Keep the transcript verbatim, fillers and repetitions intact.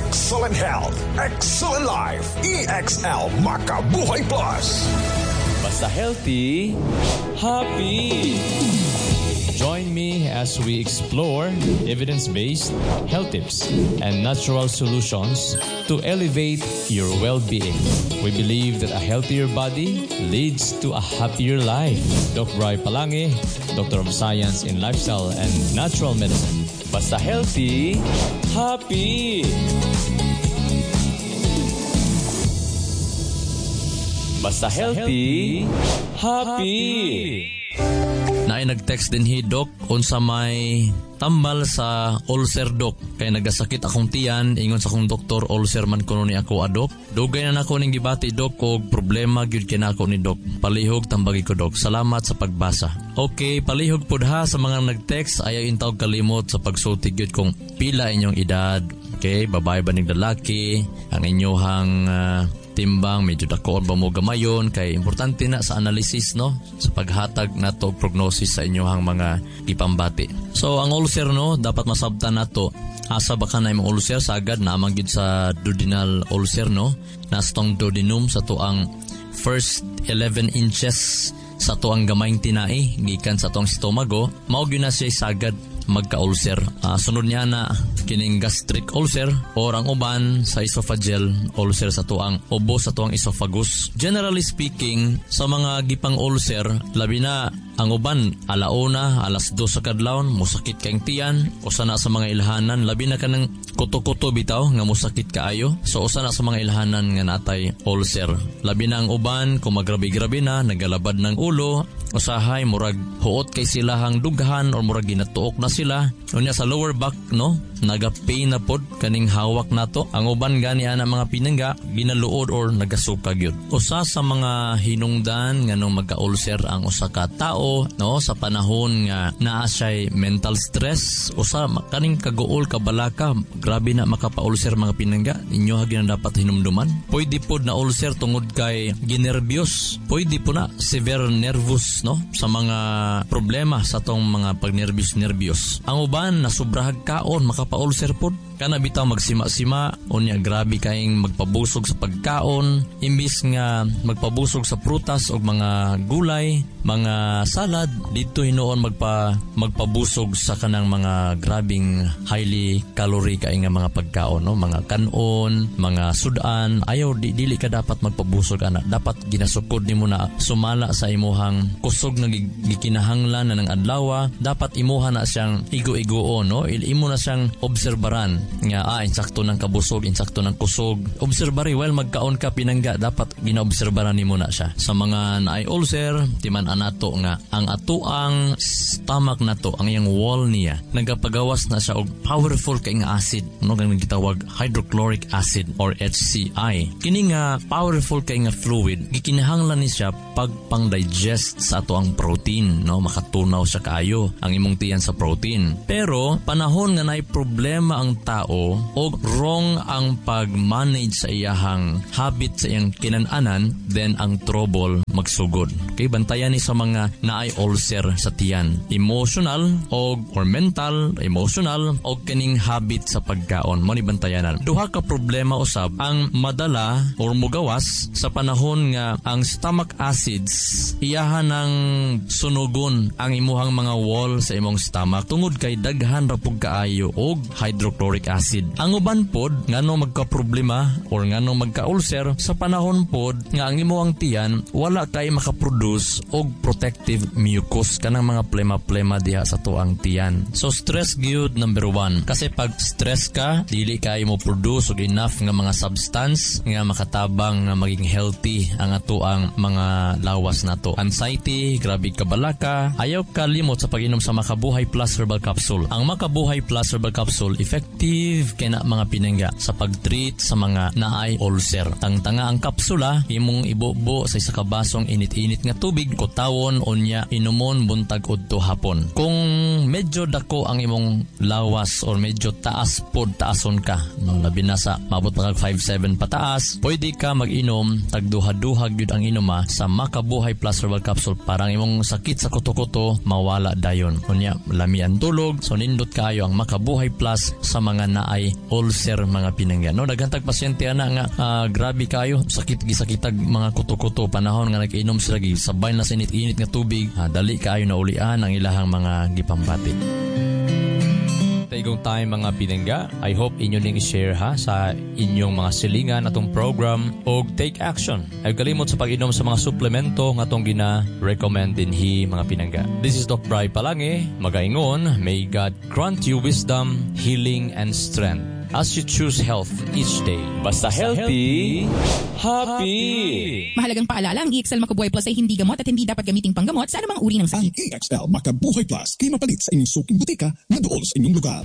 Excellent health, excellent life. E X L Makabuhay Plus. Basta healthy, happy. Join me as we explore evidence-based health tips and natural solutions to elevate your well-being. We believe that a healthier body leads to a happier life. Doc Bry Palangi, Doctor of Science in Lifestyle and Natural Medicine. Basta healthy, happy. Basta healthy, happy. Naay nag-text dinhi, "Dok, unsa may tambal sa ulcer, Dok? Kay nagasakit akong tiyan, ingon sa akong doktor, ulcer man kuno ni ako, Dok. Dugay na nako ning gibati, Dok, og problema gyud kay nako ni, Dok. Palihog tambagi ko, Dok. Salamat sa pagbasa." Okay, palihog pud ha sa mga nag-text, ayaw intawg kalimot sa pagsulti gyud kung pila inyong edad. Okay, babae ba ning lalaki, ang inyuhang uh, timbang, medyo dakoon ba mo gamayon, kay importante na sa analysis, no, sa paghatag nato og prognosis sa inyong mga gipambati. So ang ulcer, no, dapat masabtan nato asa ba ka na imong ulcer. Sagad naman gyud sa duodenal ulcer, no, nasa tong duodenum, sa tuang first eleven inches sa tuang gamayng tinai gikan sa tuang stomago, mao gyud na siya sagad magka-ulcer. Uh, sunod niya na kining gastric ulcer or ang uban sa esophageal ulcer, sa tuang ubo sa tuang esophagus. Generally speaking, sa mga gipang ulcer, labi na ang uban alauna, alas dos sa kadlawon, musakit kang tiyan, usa na sa mga ilhanan, labi na kanang kuto-kuto bitaw nga musakit kaayo. So usa na sa mga ilhanan nga natay ulcer. Labi na ang uban kung magrabi-grabi na, nagalabad ng ulo, usahay murag huot kay silahang dughan or murag ginatuok na sila. Unya sa lower back, no, naga-pain na pod kaning hawak nato. Ang uban gani ana, mga pinangga, ginaluod or nagasuka gyud. Usa sa mga hinungdan nganong magka-ulcer ang usa ka tao, no, sa panahon nga naa siya'y mental stress, usa kaning kaguol, kabalaka, grabe na makapa-ulcer, mga pinangga. Inyo ha na dapat hinumduman. Pwede pod na ulcer tungod kay ginerbyos. Pwede po na severe nervous, no, sa mga problema sa tong mga pagnerbyos-nerbyos. Ang uban na sobrahag kaon, makapa-ulcer pod. Kana bitaw magsima-sima, unya grabe kaing magpabusog sa pagkaon, imbis nga magpabusog sa prutas o mga gulay, mga salad, dito hinuon magpa magpabusog sa kanang mga grabing highly calorie kay nga mga pagkaon, no, mga kanon, mga sudan. Ayaw, di, dili ka dapat magpabusog ana. Dapat ginasukod nimo na sumala sa imuhang kusog nga gikinahanglan na ng adlaw. Dapat imuha na siyang igo-igoon, no, imo na siyang obserbaran nga ah insakto ng kabusog, insakto ng kusog. Obserbari while magkaon ka, pinangga, dapat ginaobserbaran nimo na siya. Sa mga naay ulcer, timan anato nga ang atuang stomach nato, ang iyang wall niya, nagapagawas na siya og powerful kay nga acid, no, kang gitawag hydrochloric acid or H C I. Kini nga powerful kay nga fluid, gikinahanglan ni siya pagpang-digest sa ato ang protein, no, makatunaw siya kaayo ang imong tiyan sa protein. Pero panahon nga naay problema ang tao o wrong ang pag-manage sa iyahang habit sa iyang kinananan, then ang trouble magsugod. Okay, bantayan ni sa mga naay ulcer sa tiyan. Emotional o or mental, emotional o kining habit sa pagkaon. Mo ni bantayanan. Duha ka problema usab ang madala or mugawas sa panahon nga ang stomach acids iyahan ng sunugon ang imuhang mga wall sa imong stomach tungod kay daghan ra pug kaayo og hydrochloric acid. Ang uban pod ngano magka-problema or ngano magka-ulcer sa panahon pod nga ang imuhang tiyan wala kay makaproduce og protective mucus, kanang mga plema-plema diha sa tuang tiyan. So stress gyud number one. Kasi pag stress ka, dili kay mo produce og enough nga mga substance nga makatabang nga maging healthy ang atoang mga lawas nato. Anxiety, grabe kabalaka, ayaw kalimot sa pag-inom sa Makabuhay Plus Herbal Capsule. Ang Makabuhay Plus Herbal Capsule, effective kay na, mga pinangga, sa pag-treat sa mga naay ulcer. Tangtanga ang kapsula, imong ibubo sa isa ka basong init-init nga nga tubig, kutawon unya inumon buntag udto hapon. Kung medyo dako ang imong lawas or medyo taas pod taason ka, no, labi na sa maabot pa kag five seven pataas, pwede ka mag-inom tag duha-duha gyud ang inuma sa Makabuhay Plus Herbal Capsule para ang imong sakit sa kuto-kuto mawala dayon. Unya lami ang tulog, so nindot kaayo ang Makabuhay Plus sa mga naay ulcer, mga pinangga. No, daghan tag pasyente ana nga uh, grabe kayo sakit, gisakitag mga kuto-kuto. Panahon nga nag-inom sila sabay na sa init-init nga tubig, uh, dali kaayo na ulian ang ilahang mga gipambati. Taigong time, mga pinangga. I hope inyo ning i-share ha sa inyong mga silingan atong program og take action. Ay kalimot sa pag-inom sa mga suplemento nga atong gina-recommend dinhi, mga pinangga. This is Doc Bry Palange, magaingon, may God grant you wisdom, healing and strength as you choose health each day. Basta healthy, happy. Mahalagang paalala, ang E X L Makabuhay Plus ay hindi gamot at hindi dapat gamiting panggamot sa anumang uri ng Ang sakit. E X L Makabuhay Plus kay mapalit sa inyong suking butika na dool sa inyong lugar.